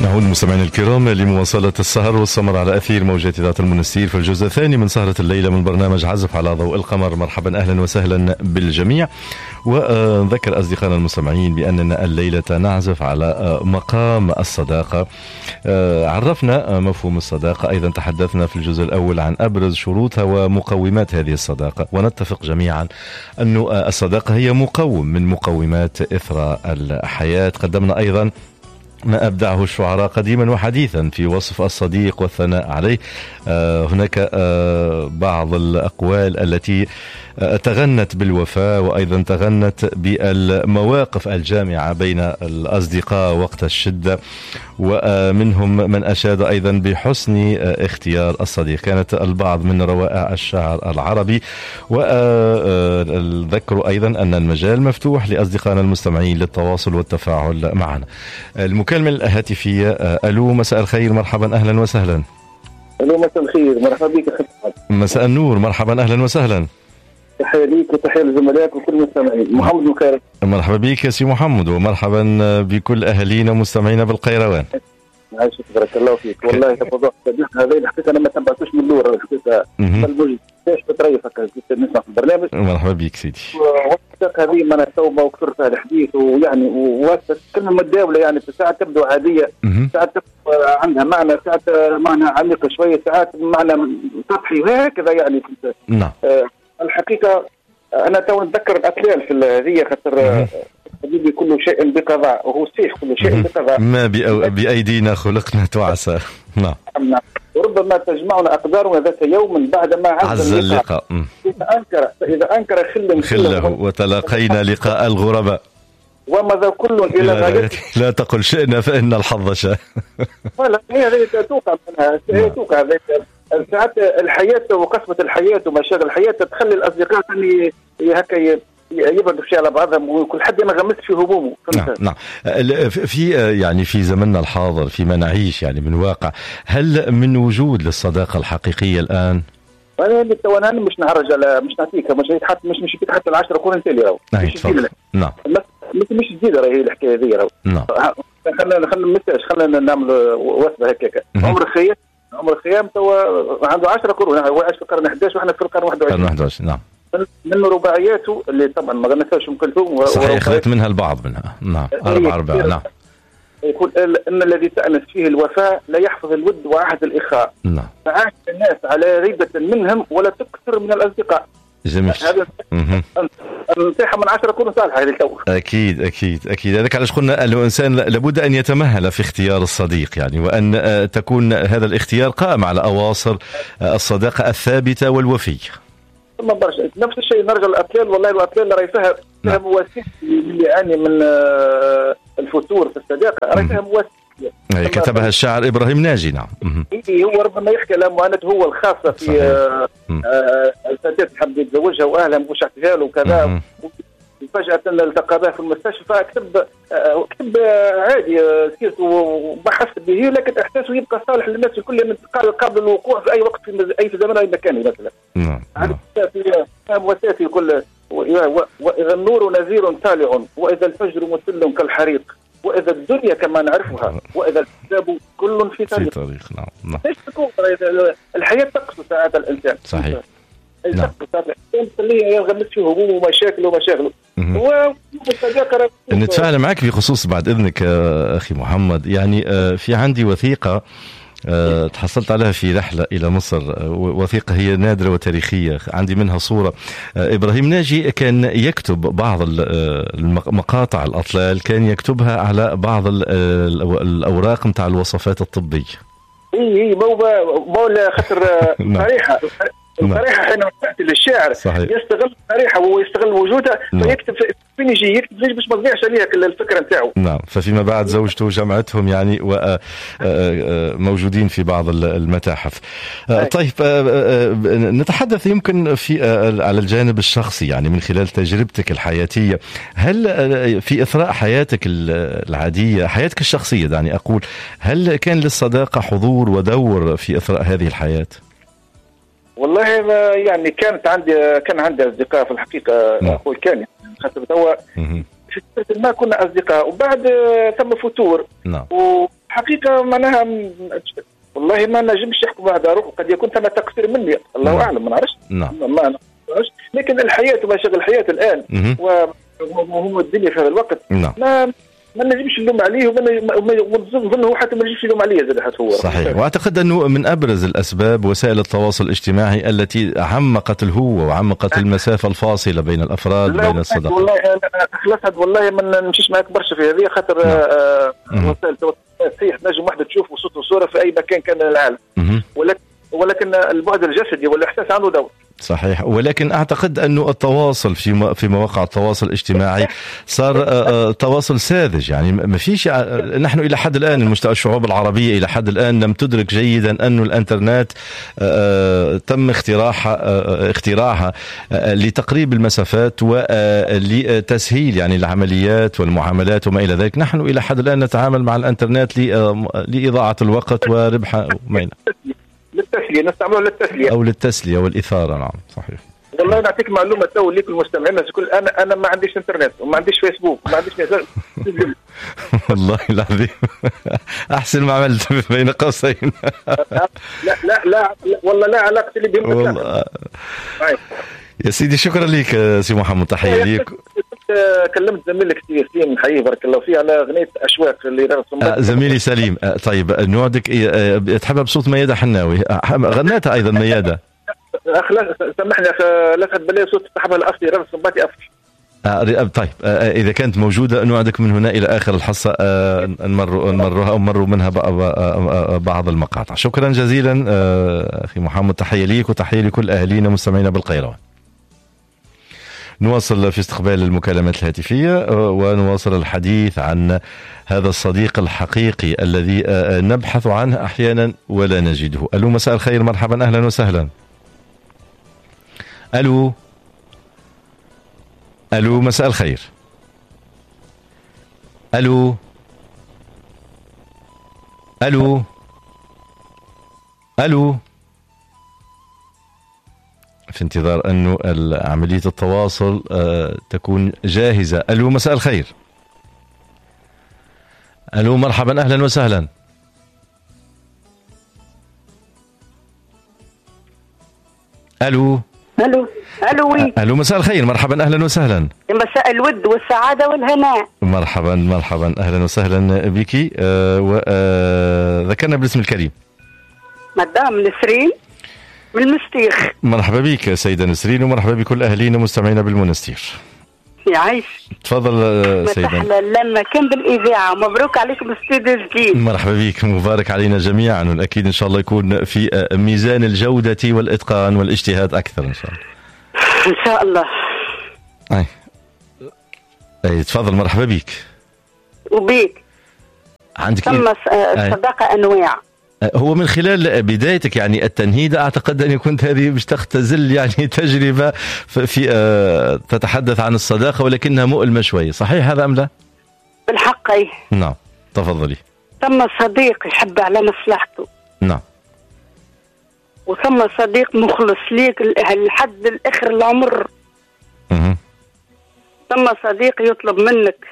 نعود مستمعينا الكرام لمواصلة السهر والسمر على أثير موجات إذاعة المنستير في الجزء الثاني من سهرة الليلة من برنامج عزف على ضوء القمر. مرحبا، أهلا وسهلا بالجميع. ونذكر أصدقائنا المستمعين بأننا الليلة نعزف على مقام الصداقة. عرفنا مفهوم الصداقة، أيضا تحدثنا في الجزء الأول عن أبرز شروطها ومقومات هذه الصداقة، ونتفق جميعا أن الصداقة هي مقوم من مقومات إثراء الحياة. قدمنا أيضا ما أبدعه الشعراء قديما وحديثا في وصف الصديق والثناء عليه. هناك بعض الأقوال التي تغنت بالوفاء، وأيضا تغنت بالمواقف الجامعة بين الأصدقاء وقت الشدة، ومنهم من أشاد أيضا بحسن اختيار الصديق. كانت البعض من روائع الشعر العربي. وذكروا أيضا أن المجال مفتوح لأصدقائنا المستمعين للتواصل والتفاعل معنا. المكالمة الهاتفية. ألو، مساء الخير، مرحبا، أهلا وسهلا. ألو، مساء الخير، مرحبا بك أخي. مساء النور، مرحبا، أهلا وسهلا. تحية ليك وتحية لزملائك وكل المستمعين. محمد من القيروان. مرحبا بك يا سي محمد، ومرحبا بكل أهالينا ومستمعينا بالقيروان. عايشك، بارك الله فيك. والله موضوع الصديق هذا الحقيقة أنا ما تبعتوش من الأول الحقيقة، بل باش بتريف هكا نسمع في البرنامج. مرحبا بك سيدي. والصداقة هذه ما توبة وكثر فيها الحديث، ويعني كلمة متداولة، يعني في ساعات تبدو عادية، ساعات تبدو عندها معنى، ساعات معنى عميق شوية، ساعات معنى سطحي وهكذا يعني. نعم. الحقيقة أنا تو نتذكر الأطلال في هذه، خاطر حبيبي كل شيء بقضاء، وهو صحيح كل شيء بقضاء. ما بأيدينا خلقنا تعسى. نعم. وربما تجمعنا أقدارنا ذات يوم بعدما عز اللقاء. إذا أنكر خله وتلاقينا لقاء الغرباء، ومضى كل إلى غايته. لا تقل شئنا فإن الحظ شاء. لا، هي توقع منها، هي توقع ساعات الحياة وقسمة الحياة ومشاغل الحياة تخلي الأصدقاء هكا يبعدوا شيء على بعضهم، وكل حد ما غمس في همومه. نعم نعم. في يعني في زمننا الحاضر، فيما نعيش يعني من واقع، هل من وجود للصداقة الحقيقية الآن؟ أنا مش نعرج على، مش نعطيك، مش حتى مش حتى 10 قرون تالي راهو. نعم. مش جديدة راهي الحكاية هذه راهو. نعم. خلينا نعمل وثبة هكاك. عمر الخيام توا عنده 10 قرون، هو عاش في القرن 11 واحنا في القرن 21. 21. نعم. من رباعياته اللي طبعا ما غنساوش ام كلثوم، صحيح، اخذت منها البعض منها. نعم، 4 نعم. يقول ان الذي تأنس فيه الوفاء لا يحفظ الود وعهد الاخاء. نعم. فعاش الناس على ريبة منهم ولا تكثر من الاصدقاء. جميل. هذا النصيحة من 10 قرون صالحة هذه التو. أكيد أكيد أكيد. هذاك علاش قلنا الإنسان لابد أن يتمهل في اختيار الصديق، يعني وأن تكون هذا الاختيار قائم على أواصر الصداقة الثابتة والوفية. ثم برشا نفس الشيء نرجع للأطلال. والله الأطلال راهي فيها مواسيق اللي يعاني من الفتور في الصداقة، راهي فيها مواسيق. كتبها الشاعر إبراهيم ناجي. نعم. هو ربما يحكي على معاناته هو الخاصة في الفتاة حب يتزوجها وأهلها مش احتفال وكذا، فجأة التقى بها في المستشفى. كتب عادي سيرته وبحث به، لكن إحساسه يبقى صالح للناس الكل قبل الوقوع في أي وقت في أي زمان أي مكان مثلا. نعم. مواساة يقول وإذا النور نذير طالع، وإذا الفجر مثل كالحريق، وإذا الدنيا كما نعرفها، وإذا الكتاب كل في طريق. في طريق. نعم. نعم. الحياة تقسو ساعات الإنسان. صحيح. نعم. تقسو ساعات الإنسان، تخليه ينغمس في همومه ومشاكله ومشاغله. نتفاعل معك في خصوص بعد إذنك أخي محمد، يعني في عندي وثيقة تحصلت عليها في رحلة إلى مصر، وثيقة هي نادرة وتاريخية، عندي منها صورة. إبراهيم ناجي كان يكتب بعض المقاطع الأطلال، كان يكتبها على بعض الأوراق متاع الوصفات الطبية. إيه مو خاطر صريحة. الصريحة حين تأتي للشاعر يستغل الصريحة ويستغل وجودها. نعم. فيكتب فين يجي يكتب ليش باش ما تضيعش عليها الفكرة نتاعو. نعم. ففيما بعد زوجته جمعتهم يعني وموجودين في بعض المتاحف. طيب، نتحدث يمكن في على الجانب الشخصي، يعني من خلال تجربتك الحياتية، هل في إثراء حياتك العادية، حياتك الشخصية يعني أقول، هل كان للصداقة حضور ودور في إثراء هذه الحياة؟ والله يعني كان عندي أصدقاء في الحقيقة. أقول كان خاطر توا في فترة ما كنا أصدقاء، وبعد ثم فتور. نعم. الحقيقة معناها والله ما نجمش يحكم على روحه، قد يكون ثم تقصير مني، الله اعلم، ما نعرفش. ما نعرفش، لكن الحياة ومشاغل الحياة الان وهم الدنيا في هذا الوقت ما نجمش نلوم عليه، ونظن هو حتى ما نجمش يلوم عليه زاد حتى هو. صحيح. واعتقد انه من ابرز الاسباب وسائل التواصل الاجتماعي التي عمقت الهوه وعمقت المسافة الفاصلة بين الافراد، بين الصداقات. والله انا والله ما نمشيش معك برشا في هذه، خاطر وسائل التواصل صحيح نجم واحدة تشوف صوت وصوره في اي مكان كان من العالم، ولكن البعد الجسدي والاحساس عنده دور. صحيح. ولكن اعتقد انه التواصل في مواقع التواصل الاجتماعي صار تواصل ساذج، يعني ما فيش، نحن الى حد الان الشعوب العربية الى حد الان لم تدرك جيدا انه الانترنت تم اختراعها لتقريب المسافات ولتسهيل يعني العمليات والمعاملات وما الى ذلك. نحن الى حد الان نتعامل مع الانترنت لاضاعه الوقت وربح وما الى للتسليه، نستعملوها للتسليه او للتسليه والاثارة. نعم صحيح. والله نعطيك معلومة تو ليك المستمعين الكل، انا ما عنديش انترنت وما عنديش فيسبوك وما عنديش والله العظيم احسن ما عملت بين قوسين. لا لا لا والله لا علاقة لي بهم. والله يا سيدي شكرا لك سي محمد، تحية ليك. كلمت زميلك سي ياسين، نحييه بارك الله فيه على اغنية اشواق اللي زميلي سليم. طيب نوعدك تحبها بصوت ميادة حناوي، غناتها ايضا ميادة. سامحني لفت بالله صوت صاحبها الاصلي رامز السنباطي افضل. طيب اذا كانت موجودة نوعدك من هنا الى اخر الحصة نمرها او نمروا منها بعض المقاطع. شكرا جزيلا اخي محمد، تحية ليك وتحية لكل اهالينا ومستمعينا بالقيروان. نواصل في استقبال المكالمات الهاتفية ونواصل الحديث عن هذا الصديق الحقيقي الذي نبحث عنه أحيانا ولا نجده. ألو مساء الخير، مرحبا، أهلا وسهلا. ألو ألو مساء الخير. ألو ألو ألو. في انتظار أنه عملية التواصل تكون جاهزة. ألو مساء الخير. ألو مرحبا، أهلا وسهلا. ألو ألو ألو oui. ألو مساء الخير، مرحبا، أهلا وسهلا. مساء الود والسعادة والهناء. مرحبا مرحبا، أهلا وسهلا بك. وذكرنا بالاسم الكريم. مدام نسرين من المستيخ. مرحبا بك سيدة نسرين، ومرحبا بكل أهلينا ومستمعينا بالمنستير. يعيش. تفضل سيدة. لما كان بالإذاعة، مبروك عليكم استوديو جديد. مرحبا بك، مبارك علينا جميعا، والأكيد إن شاء الله يكون في ميزان الجودة والإتقان والاجتهاد أكثر إن شاء الله. إن شاء الله. أي تفضل، مرحبا بك. وبيك. عندك ثم الصداقة أنواع. هو من خلال بدايتك يعني التنهيدة أعتقد أن كنت هذه مش تختزل يعني تجربة في تتحدث عن الصداقة ولكنها مؤلمة شوية، صحيح هذا أم لا؟ بالحق أي. نعم تفضلي. ثم صديق يحب على مصلحته. نعم. وثم صديق مخلص ليك لحد الآخر العمر. ثم صديق يطلب منك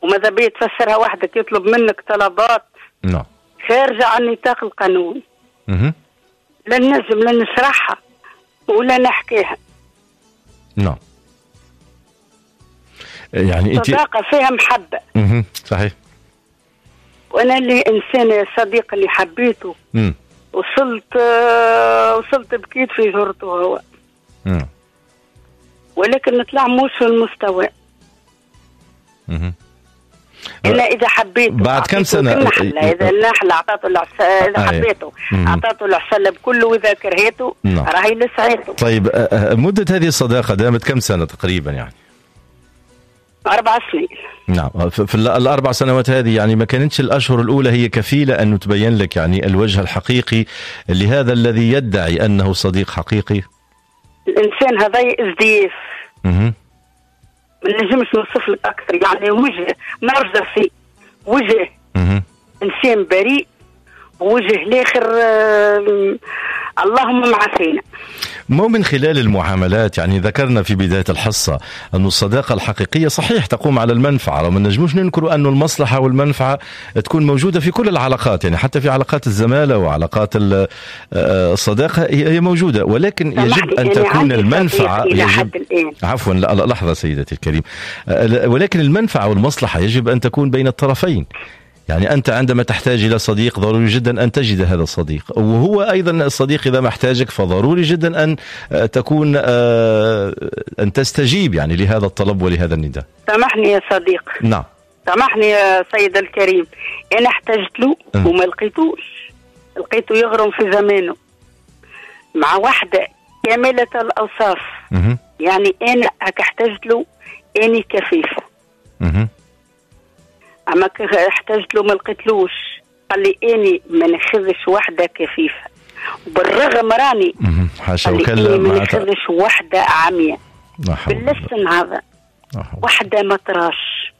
وماذا بيه تفسرها وحدك، يطلب منك طلبات. نعم. خارجة عن نطاق القانون. لا نجم لا نشرحها ولا نحكيها. نعم. يعني انت صداقة فيها محبة. صحيح. وانا اللي انسان صديق اللي حبيته. وصلت بكيت في جرته هو. ولكن نطلع مش في المستوى. إلا إذا حبيته بعد كم سنة؟ إذا النحلة أعطته العسل، إذا حبيته أعطته العسل بكله، وإذا كرهته راهي لسعيته. طيب مدة هذه الصداقة دامت كم سنة تقريبا يعني؟ 4 سنين. نعم. في ال4 سنوات هذه يعني ما كانتش الأشهر الأولى هي كفيلة أن تبين لك يعني الوجه الحقيقي لهذا الذي يدعي أنه صديق حقيقي؟ الإنسان هذا ازدياف. ما نجمش نوصف لك اكثر، يعني وجه نرجسي، وجه انسان بريء، وجه الاخر اللهم معافينا. مو من خلال المعاملات. يعني ذكرنا في بداية الحصة أن الصداقة الحقيقية صحيح تقوم على المنفعة، وما نجموش ننكر أن المصلحة والمنفعة تكون موجودة في كل العلاقات، يعني حتى في علاقات الزمالة وعلاقات الصداقة هي موجودة، ولكن يجب أن تكون المنفعة يجب... عفوا لحظة سيدتي الكريم، ولكن المنفعة والمصلحة يجب أن تكون بين الطرفين. يعني أنت عندما تحتاج إلى صديق ضروري جدا أن تجد هذا الصديق، وهو أيضا الصديق إذا ما احتاجك فضروري جدا أن تكون أن تستجيب يعني لهذا الطلب ولهذا النداء. سامحني يا صديق. نعم. سامحني يا سيد الكريم، أنا احتاجت له وما لقيتوش، لقيته يغرم في زمانه مع واحدة كاملة الأوصاف. يعني أنا احتاجت له، أني كفيفة. أما احتاجت له ما لقيتلوش، قال لي أني ما ناخذش وحدة كفيفة، وبالرغم راني حاشا وكلا ما ناخذش وحدة عمياء باللسن هذا، وحدة ما تراش.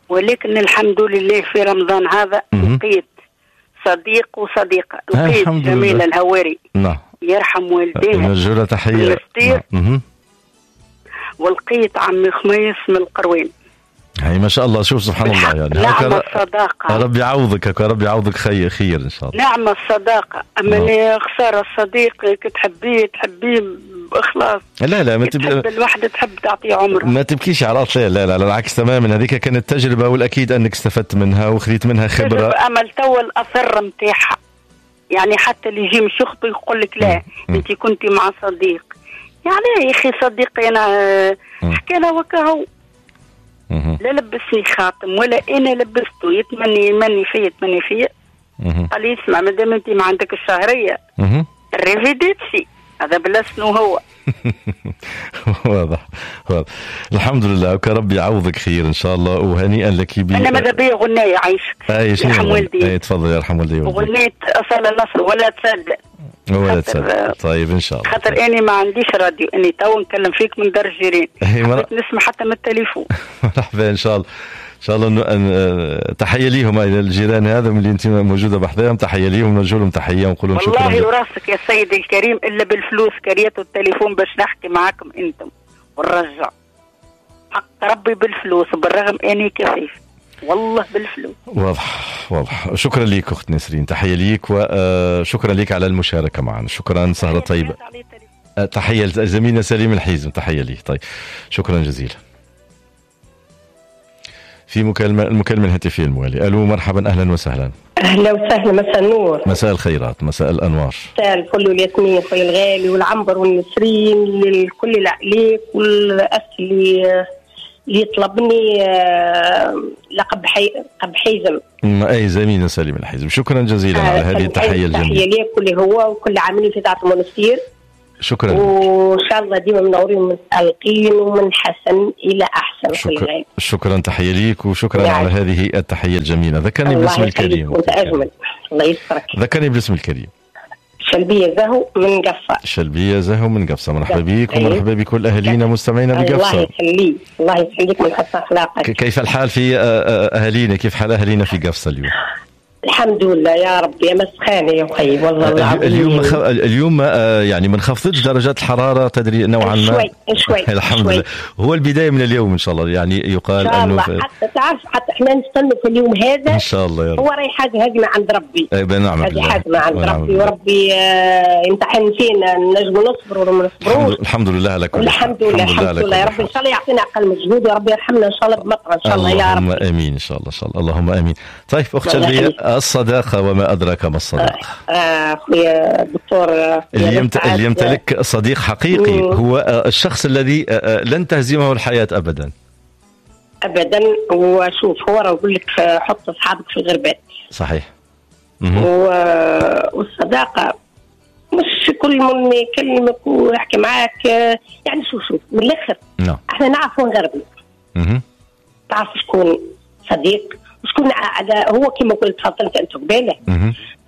ولكن الحمد لله في رمضان هذا لقيت صديق وصديقة، لقيت جميلة الهواري. نعم. يرحم والديها، نرجو لها تحية. ولقيت عمي خميس من القروين. هي ما شاء الله، شوف سبحان الله، يعني نعم الصداقة، ربي يعوضك، ربي يعوضك خير خير إن شاء الله. نعم الصداقة، أما خسارة الصديق تحبيه تحبيه بإخلاص. لا لا، ما تحب الواحدة تحب تعطيه عمره، ما تبكيش على الأطلال. لا لا لا، العكس تماما، هذيك كانت تجربة والأكيد أنك استفدت منها وخذيت منها خبرة. أمل تو الأثر متاعها، يعني حتى اللي يجي مش يخطب يقول لك لا أنت كنت مع صديق، يعني يا أخي صديقي أنا حكى له وكهو، لا لبسني خاتم ولا انا لبسته، يتمني يمني فيا يتمني فيا. قال لي اسمع، مادام انت ما عندك الشهرية ريفيديتسي، هذا بلسنو هو. واضح واضح، الحمد لله، ربي يعوضك خير ان شاء الله، وهنيئا لك. انا ماذا بيا غنايه عايشك، يرحم والدي. اي تفضل، يرحم والدي. غنيت اصل النصر ولا تصدق، ولا تصدق. طيب ان شاء الله، خاطر اني ما عنديش راديو، اني تو نكلم فيك من دار الجيران، نسمع حتى من التليفون. مرحبا، ان شاء الله ان شاء الله. تحية ليهم الجيران هذا اللي انت موجودة بحذاهم، تحية ليهم، نرجو لهم تحية ونقول لهم شكرا. والله وراسك يا سيدي الكريم الا بالفلوس كريتوا التليفون باش نحكي معاكم انتم ونرجع حق ربي بالفلوس، بالرغم اني كفيف والله بالفلوس. واضح واضح، شكرا لك اخت نسرين، تحية ليك وشكرا لك على المشاركة معنا، شكرا، سهره طيبة. تحية لزميلنا سليم الحيزم، تحية ليه. طيب شكرا جزيلا. في المكالمة الهاتفية الموالية. الو مرحبا، اهلا وسهلا. اهلا وسهلا، مساء النور. مساء الخيرات، مساء الانوار. مساء الفل والياسمين خويا الغالي والعنبر والنسرين لكل العائلات والاخ اللي يطلبني لقب حيزم. اي زميلنا سليم الحيزم، شكرا جزيلا على هذه التحية الجميلة. تحية ليك واللي هو وكل عاملين في اذاعة المنستير. شكرا، وان شاء الله ديما منورين ومتألقين ومن حسن الى احسن. شكرا, شكرا، تحية ليك وشكرا على هذه التحية الجميلة. ذكرني بالاسم الكريم. وانت اجمل، الله يسترك. ذكرني بالاسم الكريم. شلبية زهو من قفصة. شلبية زهو من قفصة، مرحبا بك ومرحبا بكل أهالينا مستمعينا بقفصة. الله يخليك، الله يخليك من حسن أخلاقك. كيف الحال في أهالينا، كيف حال أهالينا في قفصة اليوم؟ الحمد لله يا ربي، يا مسخانه يا اخي والله العظيم. اليوم يعني ما انخفضتش درجات الحرارة تدري نوعا ما، شوي شوي الحمد لله. هو البداية من اليوم ان شاء الله، يعني يقال انه حتى تعرف حتى احنا نستنوا في اليوم هذا ان شاء الله يا رب. هو راهي حاجة هذه من عند ربي. اي نعم، هذه حاجة من عند ربي، وربي يمتحن فينا نجموا نصبروا ولا ما نصبروش. الحمد لله على كل حال، الحمد لله، الحمد لله يا رب. ان شاء الله يعطينا اقل مجهود، يا رب يرحمنا ان شاء الله بمطر ان شاء الله يا رب. اللهم امين ان شاء الله، ان شاء الله اللهم امين. طيب اخت شلبيه، الصداقة وما أدراك ما الصداقة. أخويا الدكتور، اللي يمتلك صديق حقيقي هو الشخص الذي لن تهزمه الحياة أبدا أبدا. وشوف هو راه يقول لك حط أصحابك في الغربات. صحيح. والصداقة مش كل من يكلمك ويحكي معاك، يعني شوف من الآخر. نعم. احنا نعرفوا نغربل. تعرف شكون صديق شكون هو، كما قلت تفضلت انت قباله.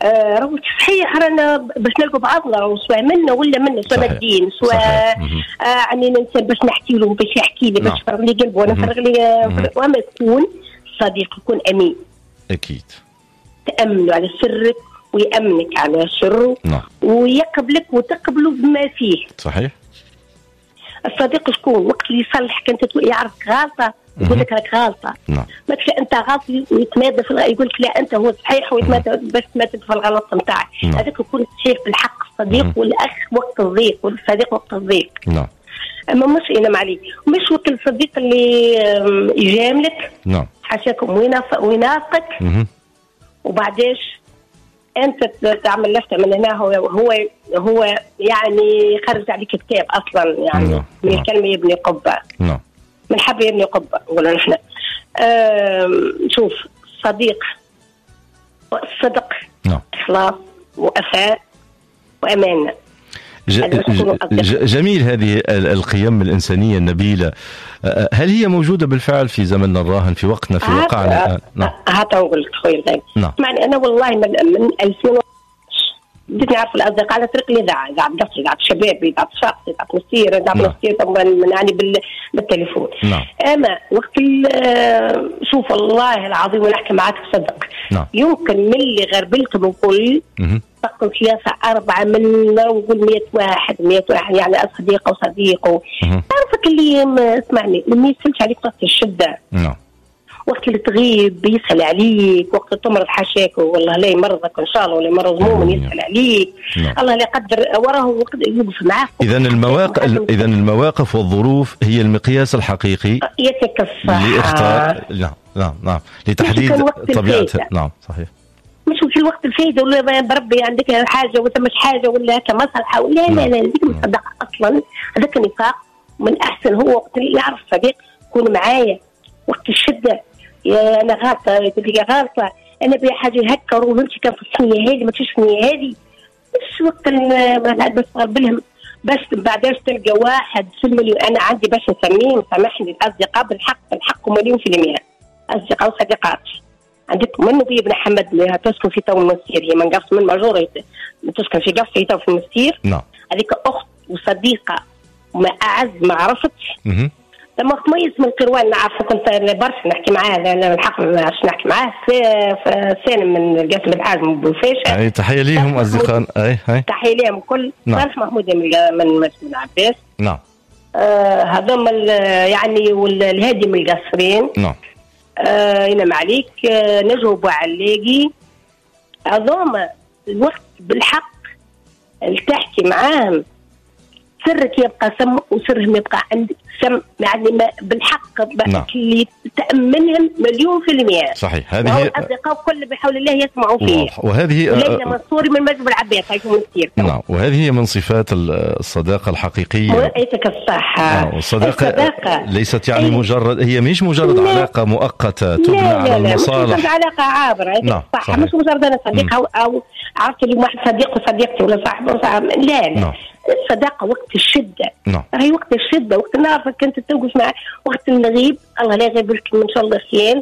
راهو صحيح، رانا باش نلقوا بعضنا، راهو سواء منا ولا منا، سواء ماديين، سواء يعني الانسان باش نحكي له، باش يحكي لي، باش يفرغ لي قلبه وانا نفرغ لي. وما يكون صديق يكون امين. اكيد. تامنوا على سرك ويأمنك على سره. نعم. ويقبلك وتقبله بما فيه. صحيح. الصديق شكون؟ وقت اللي يصلحك انت يعرفك غلطه يقول لك راك غلطه. نعم. ما تش انت غلط ويتمادى في يقول لك لا انت هو صحيح ويتمادى باش تمادى في الغلط نتاعك. نعم. هذاك يكون صحيح بالحق، الصديق والاخ وقت الضيق والصديق وقت الضيق. نعم. اما مش انا معلي مش وقت الصديق اللي يجاملك. نعم. حاشاكم وينافقك. وبعداش انت تعمل لفته من هنا هو هو يعني يخرج عليك كتاب اصلا يعني. نعم. من الكلمة يبني قبه. نعم. من حب يبني قبه نقولوا نحن. شوف صديق الصدق. نعم. اخلاص ووفاء وامانه. جميل هذه القيم الإنسانية النبيلة، هل هي موجودة بالفعل في زمننا الراهن، في وقتنا، في واقعنا؟ نعم. هذا نقول لك خويا الغالي. نعم. يعني أنا والله من 2000 بديت نعرف الأصدقاء على طريق الإذاعة، إذاعة قفص، إذاعة شباب، إذاعة شاطئ، إذاعة مسير، إذاعة مسير يعني بالتليفون. نعم. أما وقت شوف والله العظيم ونحكي معاك بصدق. نعم. يمكن من اللي غربلتهم الكل تقول 3 4 من نقول 100 واحد 100 واحد يعني صديقه وصديقه. تعرفك اللي اسمعني ما يسالش عليك وقت الشدة. نعم. وقت اللي تغيب يسال عليك، وقت تمرض حاشاك والله لا يمرضك ان شاء الله ولا يمرض مؤمن يسال عليك. نعم. الله لا يقدر وراه وقت يوقف معاك. اذا المواقف والظروف هي المقياس الحقيقي يعطيك الصحة لاختار. نعم نعم نعم لتحديد طبيعتها. نعم صحيح. مش في الوقت الفايدة ولا بربي عندك حاجة ولا مش حاجة ولا كمصلحه ولا لا لا هذيك مش صداقه اصلا، هذاك نفاق. من احسن هو وقت اللي يعرف صديق يكون معايا وقت الشدة، يا انا غلطه يقول لي غلطه، انا بيا حاجة هكا وفهمتي كان في الثنية هذه ما تمشيش الثنية هذه، مش وقت باش تغربلهم باش بعداش تلقى واحد في المليون. انا عندي باش نسميهم سامحني الاصدقاء بالحق بالحق 1,000,000% اصدقاء وصديقات. عندك من نبي بن حمد اللي تسكن في تو المسير، هي من قفص من ماجورة تسكن في قفص في تو في المسير. نعم. هذيك اخت وصديقه وما اعز ما عرفت. لما خميس من القروان نعرفه كنت برشا نحكي معاه، الحق باش نحكي معاه سالم من القاسم الحاج من بوفاشه. اي تحية ليهم اصدقاء. اي اي تحية ليهم الكل. نعم. صالح محمود من العباس. نعم. هذوما يعني والهادي من القصرين. نعم. ينام عليك نجوى بوعلاقي. هذوما الوقت بالحق اللي تحكي معاهم سرك يبقى سم وسرهم يبقى عندك سم، يعني بالحق. نعم. اللي تأمنهم 1,000,000%. صحيح. هذه هي الأصدقاء كل بحول الله يسمعوا فيه. وهذه ليلى منصوري من مجب العباس هيكون كثير. نعم. وهذه هي من صفات الصداقة الحقيقية. رأيتك الصحة. الصداقة ليست يعني مجرد، هي مش مجرد لا. علاقة مؤقتة تبنى على المصالح. مش مجرد علاقة عابرة. نعم. صح. مش مجرد أنا صديقة أو عرفت اليوم واحد صديق وصديقتي ولا صاحب وصاحب. لا لا. نعم. الصداقة وقت الشدة. نعم. راهي وقت الشدة، وقت نعرفك أنت توقف مع وقت النغيب، الله لا يغيب لكم إن شاء الله خيان.